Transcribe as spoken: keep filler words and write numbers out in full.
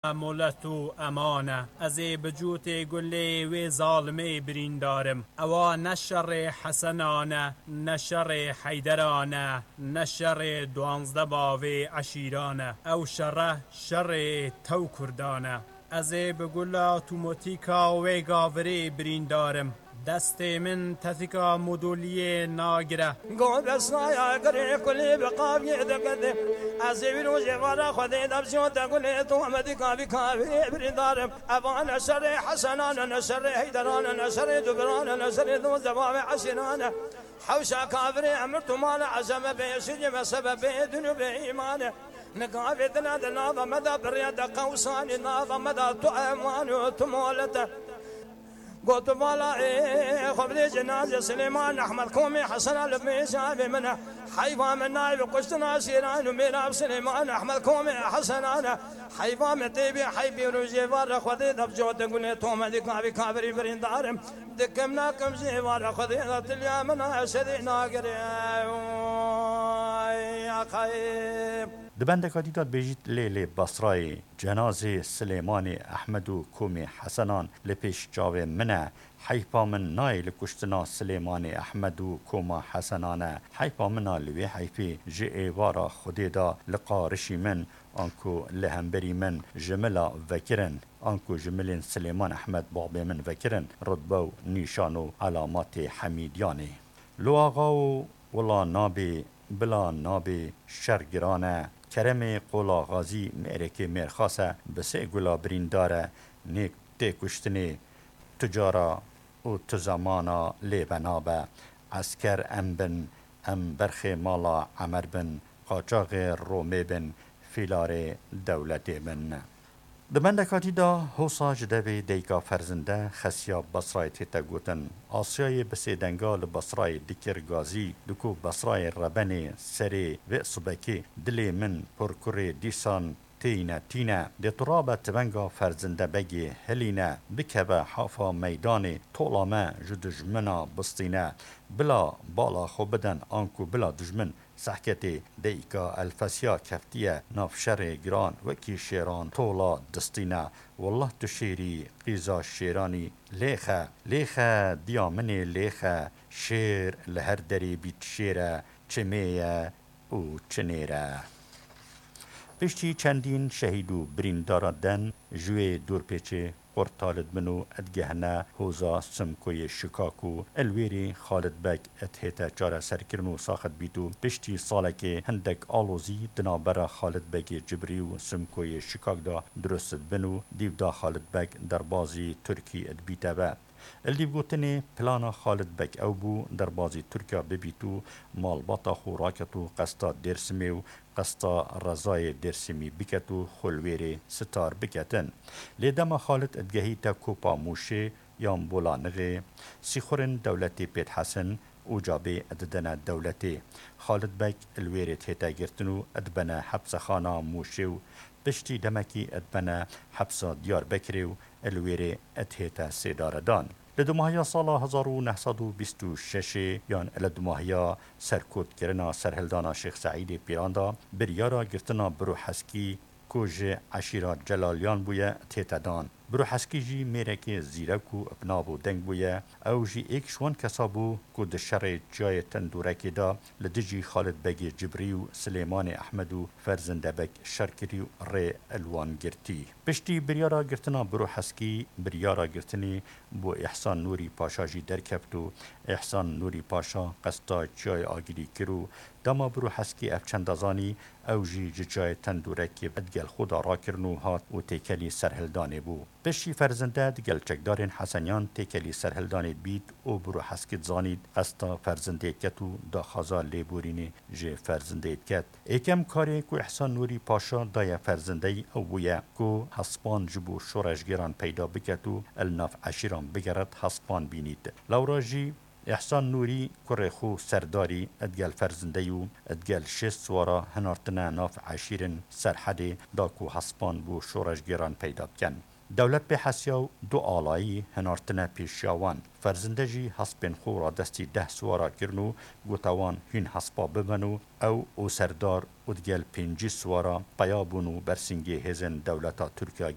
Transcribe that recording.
molet û eman e. Ez ê bi cûtê gulê wê zalimê birîndar im. Ewa ne şerê Hesenan e, ne şerê Heyderan e, ne şerê duwazdeh bavê eşîran e. Ew şere, şerê tew Kurdan e. Ez ê bi gula tûmotîka wê gavirê birîndar im. Destê min tetika modoliyê nagire. Go besnaya girê kulî bi qaviyê dikete. Ez ê wî rojê vara Xwedê de biziyote gulê to me dîka vî kavirê birîndar im. Evane şerê Hesenan e, ne şerê Heyderan e, ne şerê Dubiran e, ne şerê duwazdeh bavê eşîran e. Hewşa kavirê emir tu mala ezeme bê şicê me sebebê din û bê îman e. Nika vê dina de nava me de birya de qewsanî, nava me de tu eman û tu molet e. Got vala ê xwe bidê cenazê Silêman Ehmed Komê Hesena li mêja vê min e. Heyva min nayê bi kuştina şêran û mêra bi Silêman Ehmed Komê Hesena ne. Heyva min tê bî heybê rojê var re Xwedê de bi cote gulê to me dîka vî kavirî birîndar im. Dikim nakim jê vara Xwedê da tiliya min a şerê nagire. Ay, axayê. Di bendeka dî de dibêjît, lê lê Basrayê cenazê Silêmanê Ehmed û Komê Hesenan li pêş çavê min e. Heyfa min nayê li kuştina Silêmanê Ehmed û Koma Hesenan e. Heyfa min a li wê heyfê ji êvara Xwedê de li qarişî min, anku li hemberî min ji mila vekirin, anku ji milên Silêman Ehmed babê min vekirin, rutbe û nîşan û elametê Hemîdiyanê. Lo axa û wila nabê, bila nabê, şer giran e. Keremê qola Xazî mêrekê mêrxas e, bi sê gula birîndar e, nêk tê kuştinê, tu cara û tu zemana lê ve nabe. Esker em bin, em berxê mala Emer bin, qaçaxê Romê bin, fîlarê dewletê bin. Di bendeka dî de hosa ji devê dayika ferzinde Xesiya Basrayê tête gotin. Asyayê bi sê denga li Basrayê dikir gazî, diku Basrayê rebenê serê vê subekê dilê min porkurê dîsan têyîne tîne. Dê tu rabe tivenga ferzinde begê hilîne, bikeve hafa meydanê, tola me ji dijmina bistîne. Bila bala xwe bidin, anku bila dijmin sehketê dayika Elfesiya keftiye nav şerê giran, wekî şêran tola distîne. Wallah tu şêrî, qîza şêranî, lêxe, lêxe, diya min ê lêxe, şêr li her derê bît şêr e, çimê ye û çinêr e. Piştî çendîn şehîd û birîndara den ji wê dorpêçê qurt talidbin û digehine hoza Simkoyê Şikak û li wêrê Xalid Beg dihête çareserkirin û saxit bît û piştî salekê hindek alozî di navbera Xalid Begê Cibrî û Simkoyê Şikak de dirust dibin û dîv de Xalid Beg derbazî Tirkî dibîte ve. Li dîvgotinê plana Xalid Beg ew bû, derbazî Tirkiya bibît û malbata xwe raket û qesta Dêrsimê û qesta Rezayê Dêrsimî biket û xwe li wêrê sitar biketin. Lê dema Xalid digehîte Kopa Mûşê yan Bolanixê, sîxurên dewletê pê dihesin û cabê didine dewletê. Xalid Beg li wêrê dihête girtin û dibene hepsexana Mûşê û piştî demekî dibene hepsa Diyarbekirê û li wêrê dihête sêdaredan. Li dumahiya sala hezar û neh sed û bîst û şeşê yan li dumahiya serkotkirina serhildana Şêx Seîdê Pîran de biryara girtina Biro Heskî ku ji eşîra Celaliyan bûye, tête dan. Biro Heskî jî mêrekê zîrek û bi nav û deng bûye. Ew jî êk ji wan kesa bû ku di şerê Çiyayê Tendûrekê de li dijî Xalid Begê Cibrî û Silêmanê Ehmed û Ferzinde Beg şer kirî û rê li wan girtî. Piştî biryara girtina Biro Heskî, biryara girtinê bo Îhsan Nûrî Paşa jî derkeft û Îhsan Nûrî Paşa qesta Çiyayê Agirî kir û dema Biro Heskî ev çenda zanî, ew jî ji Çiyayê Tendûrekê digel xwe de rakirin û hat û têkelî serhildanê bû. Piştî Ferzinde digel çekdarên Heseniyan têkelî serhildanê dibît û Biro Heskî dizanît qesta Ferzindeyê diket û daxwaza lêborînê ji Ferzindeyê diket. Êkem karê ku Îhsan Nûrî Paşa daye Ferzindeyî ew bûye ku hespan ji bo şoreşgêran peyda biket û li nav eşîran bigeret, hespan bînît. Lewra jî Îhsan Nûrî kurê xwe Serdarî digel Ferzindeyî û digel şêst siwara hinartine nav eşîrên Serhedê da ku hespan bo şoreşgêran peyda bikin. Dewlet pê hesiya û du alayî hinartine pêşiya wan. Ferzinde jî hespên xwe radestî deh siwara kirin û gote wan hîn hespa bibin û ew û Serdar û digel pêncî siwara peya bûn û bersîngê hêzên dewleta Tirkiya